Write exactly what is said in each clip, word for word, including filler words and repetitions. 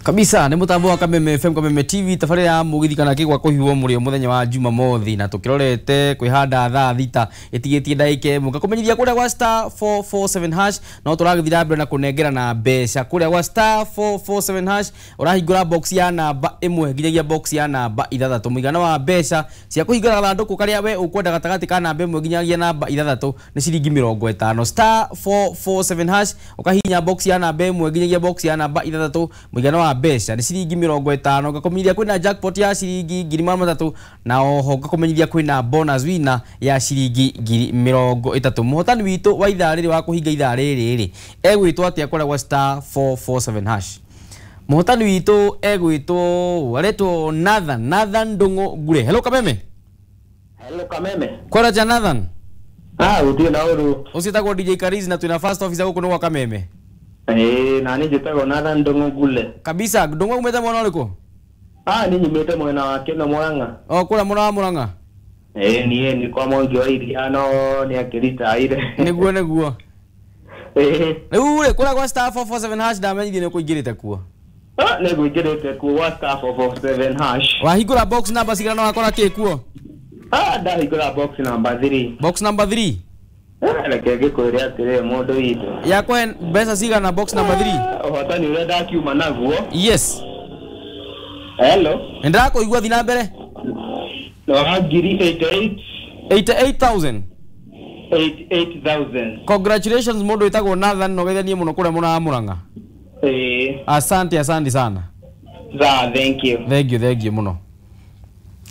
Kabisa nĩ mũtambo wa Kameme F M, Kameme T V, tabarĩra ya mũgithi kana kĩgwa kũhiũhwo mũrĩo mũthenya wa Jumamothi, na tũkĩrorete kwĩhanda thaa thita ĩtigĩtie ndagĩka ĩmwe. Ngakũmenyithia kũrĩa gwa star four four seven hash no tũragĩthiĩ na mbere na kũnengera na mbeca kũrĩa gwa star four four seven hash ũrahingũra box ya namba ĩmwe nginyagia box ya namba ithathatũ. Mũigana wa mbeca cia kũhingũra gathandũkũ karĩa we ũkwenda gatagatĩ ka namba ĩmwe nginyagia namba ithathatũ nĩ ciringi mĩrongo ĩtano. Star four four seven hash ũkahihinya box ya namba ĩmwe nginyagia box ya namba ithathatũ, mũigana wa mbeca nĩ ciringi mĩrongo ĩtano. Ngakũmenyithia kwĩna jackpot ya ciringi ngiri magana matatũ na oho ngakũmenyithia kwĩna bonus winner ya ciringi ngiri mĩrongo ĩtatũ. Mũhotani witũ wa ithaa rĩrĩ wa kũhinga ithaa rĩrĩ rĩ egwĩtwo atĩa kũrĩa gwa star four four seven hash? Mũhotani witũ egwĩtwo aretwo Nathan, Nathan Ndung'u Ngure. Hello Kameme. Hello Kameme. Kwara cha Nathan. Ah, utie na uru. Ũcio etagwo D J Karizi na twĩna first officer gũkũ nĩ gwa Kameme. Eh, na nĩ njĩtagwo Nathan Ndung'u Ngure. Kabisa, Ndung'u umĩte mwena ũrĩkũ? Ah, nĩ nyumĩte mwena wa Kĩno Mũrang'a. O kũrĩa mwena wa Mũrang'a? Eh, niĩ nĩ kwa Mwangi wa Iria no nĩ akĩritaire. Nĩguo, nĩguo. Eh. Rĩu rĩ, kũrĩa gwa star four four seven hash ndamenyithie nĩ ũkũingĩrĩte kuo. Ah, nĩ ngũingĩrĩte kuo gwa star four four seven hash. Wahingũra box number cigana na wakora kĩ kuo? Ah, ndahingũra box number three. Box number three? Reke ngĩkwĩre atĩrĩ mũndũ witũ. Yakũhe mbeca cigana box number three? Ũhotani ũrĩa ndakiuma naguo. Yes. Hello. Nĩndĩrakũigua, thiĩ na mbere. No, ngiri eighty-eight. eighty-eight thousand. eighty-eight thousand. Congratulations mũndũ wĩtagwo Nathan, no geithanie mũno kũrĩa mwena wa Mũrang'a. Eh. Asante, asante sana. Za, thank you. Thank you, thank you mũno.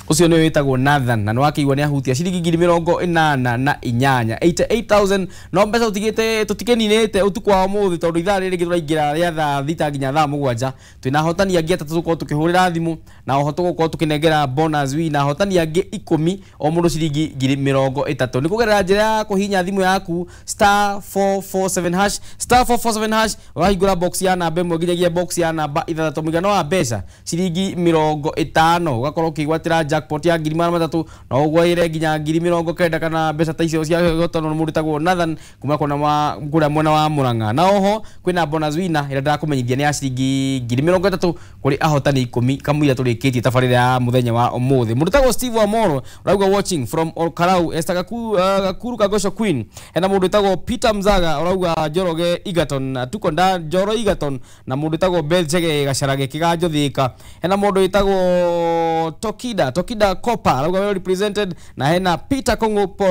Ũcio nĩwe wĩtagwo Nathan na nĩwakĩigua nĩ ahutia ciringi ngiri mĩrongo ĩnana na inyanya eighty-eight thousand. No mbeca tũtigĩte tũtikĩninĩte ũtukũ wa ũmũthĩ tondũ ithaa rĩrĩ tũraingĩra rĩa thaa thita nginya thaa mũgwanja. Twĩna ahotani angĩ atatũ tũgũkorwo tũkĩhũrĩra thimũ na oho tũgũkorwo tũkĩnengera bonus winner ahotani angĩ ikũmi o mũndũ ciringi ngiri mĩrongo ĩtatũ. Nĩ kũgerera njĩra ya kũhihinya thimũ yaku star four four seven hash, star four four seven hash, ũrahingũra box ya namba ĩmwe nginyagia box ya namba ithathatũ, mũigana wa mbeca ciringi mĩrongo ĩtano, ũgakorwo ũkĩgwatĩra jackpot ya ngiri magana matatũ na ũgwaire nginya ngiri mĩrongo kenda kana mbeca ta icio cia gũtano mũndũ wĩtagwo Nathan kuma kũna wa kũrĩa mwena wa Mũrang'a. Na oho kwĩna bonus winner ĩrĩa ndĩrakũmenyithia nĩ ya ciringi ngiri mĩrongo ĩtatũ kũrĩ ahotani ikũmi kamũira tũrĩkĩtie tabarĩra ya mũthenya wa ũmũthĩ. Mũndũ wĩtagwo Steve Wamoro ũrauga watching from Olkarau, Esther Gaku, uh, Gakuru Kagosho Queen. Hena mũndũ wĩtagwo Peter Mzaga ũrauga Njoroge Egerton, tuko nda Njoro Egerton, na mũndũ wĩtagwo Beth Chege Gacarage Kĩganjo Thika. Hena mũndũ wĩtagwo Tokida Tokida Kopa arauga well represented, na hena Peter Kongo po,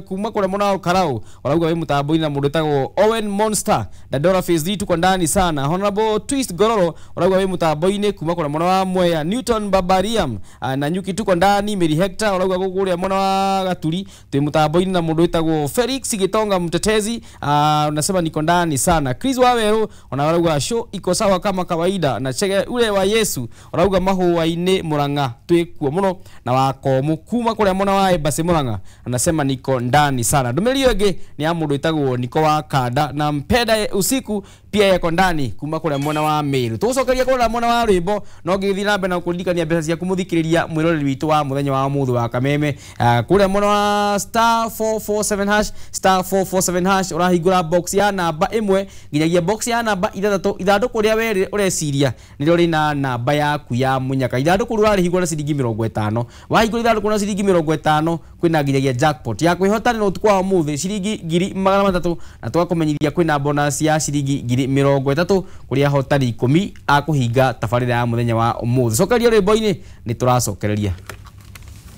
kuma kũrĩa mwena wa Olkarau arauga wĩ mũtambo-inĩ, na mũndũ wĩtagwo Owen Monster Dandora Phase three tuko ndani sana. Honorable Twist Gororo arauga wĩ mũtambo-inĩ kuma kũrĩa mwena wa Mwea. Newton Babariam na Nyuki tuko ndani. Mary Hector arauga kũrĩa mwena wa Gaturi twĩ mũtambo-inĩ, na mũndũ wĩtagwo Felix Gitonga Mtetezi unasema niko ndani sana. Chris Waweru ona arauga show iko sawa kama kawaida, na Chege ule wa Yesu arauga mahũa-inĩ Mũrang'a twĩ kuo mũno, na wakomu kuma kũrĩa mwena wa Embassy Mũrang'a anasema niko ndani sana. Ndũmĩrĩri ĩyo ĩngĩ nĩ ya mũndũ wĩtagwo Niko wa Kanda na Mpenda usiku pia yako ndani kuma kũrĩa mwena wa Meru. Tũgũcokeria kũrĩa mwena wa rwĩmbo no ngĩthiĩ na mbere na kũririkania mbeca ciaku mũthikĩrĩria mwĩroreri witũ wa mũthenya wa ũmũthĩ wa Kameme. Kũrĩa mwena wa star four four seven hash, star four four seven hash ũrahingũra box ya namba ĩmwe nginyagia box ya namba ithathatũ. Ithandũkũ rĩa we ũreciria nĩrĩo rĩna namba yaku ya mũnyaka. Ithandũkũ rĩu ũrarĩhingũra na ciringi mĩrongo ĩtano. Wahingũra ithandũkũ na ciringi mĩrongo ĩtano kwĩna nginyagia jackpot ya kwĩhotanĩra ũtukũ wa ũmũthĩ ciringi ngiri magana matatũ, na tũgakũmenyithia kwĩna bonus ya ciringi ngiri mĩrongo ĩtatũ kũrĩ ahotani ikũmi a kũhinga tabarĩra ya mũthenya wa ũmũthĩ. Cokeria rwĩmbo-inĩ nĩ tũracokereria.